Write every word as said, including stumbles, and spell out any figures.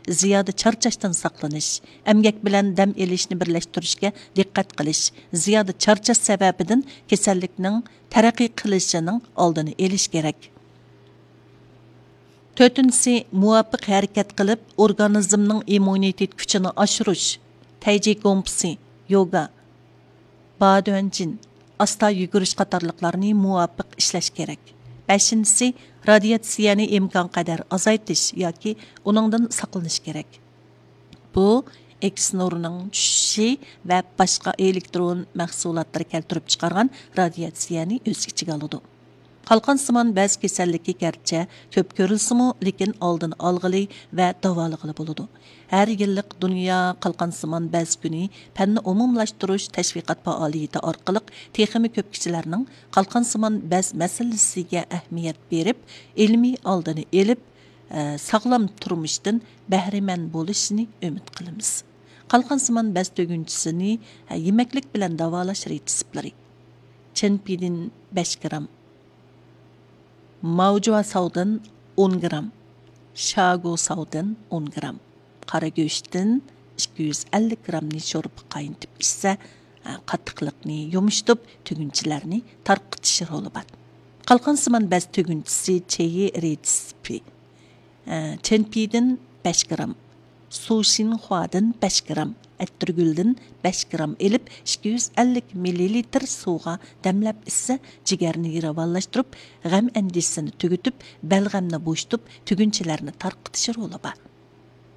زىيادە چارچاشتىن ساقلىنىش، ئەمگەك بىلەن دەم ئېلىشنى بىرلەشتۈرۈشكە دىققەت قىلىش، زىيادە چارچاش سەۋەبىدىن كېسەللىكنىڭ تەرەققىي قىلىشىنىڭ ئالدىنى ئېلىش كېرەك. تۆتىنچىسى، مۇۋاپىق ھەرىكەت قىلىپ، ئورگانىزمنىڭ ئىممۇنىتېت كۈچىنى ئاشۇرۇش، تەيجى گومپىسى، يوگا، بادۇەنجىن، ئاستا يۈگۈرۈش قاتارلىقلارنى مۇۋاپىق ئىشلەش كېرەك. بەشىنچىسى، رادىياتسىيەنى ئىمكانقەدەر ئازايتىش ياكى ئۇنىڭدىن ساقلىنىش كېرەك. بۇ، ئېكس نۇرىنىڭ چۈشۈشى ۋە باشقا ئېلېكترون مەھسۇلاتلىرى كەلتۈرۈپ چىقارغان رادىياتسىيەنى ئۆز ئىچىگە ئالىدۇ. قالقانسىمان بەز كېسەللىكى گەرچە كۆپ كۆرۈلسىمۇ، لېكىن ئالدىنى ئالغىلى ۋە داۋالىغىلى بولىدۇ. ھەر يىللىق دۇنيا قالقانسىمان بەز كۈنى پەننى ئومۇملاشتۇرۇش تەشۋىقات پائالىيىتى ئارقىلىق تېخىمۇ كۆپ كىشىلەرنىڭ قالقانسىمان بەز مەسىلىسىگە ئەھمىيەت بېرىپ، ئىلمىي ئالدىنى ئېلىپ، ئە، ساغلام تۇرمۇشتىن بەھرىمەن بولۇشىنى ئۈمىد قىلىمىز. قالقانسىمان بەز تۈگۈنچىسىنى، ئە، يېمەكلىك بىلەن داۋالاش رېتسېپلىرى. چېنپىدىن بەش گرام، ماۋجۇا ساۋدىن ئون گرام، شاگو ساۋدىن ئون گرام، قارا گۆشتىن ئىككى يۈز ئەللىك گرامنى شورپا قاينىتىپ ئىچسە، قاتتىقلىقنى يۇمشىتىپ، تۈگۈنچىلەرنى تارقىتىش رولى بار. قالقانسىمان بەز تۈگۈنچىسى چېيى رېتسېپى. چېنپىدىن بەش گرام، سۇشىنخۇادىن بەش گرام، ئەتىرگۈلدىن بەش گرام ئېلىپ، ئىككى يۈز ئەللىك مىللىلىتىر سۇغا دەملەپ ئىچسە، جىگەرنى راۋانلاشتۇرۇپ، غەم ئەندىشىسىنى تۈگىتىپ، بەلغەمنى بوشىتىپ، تۈگۈنچىلەرنى تارقىتىش رولى بار.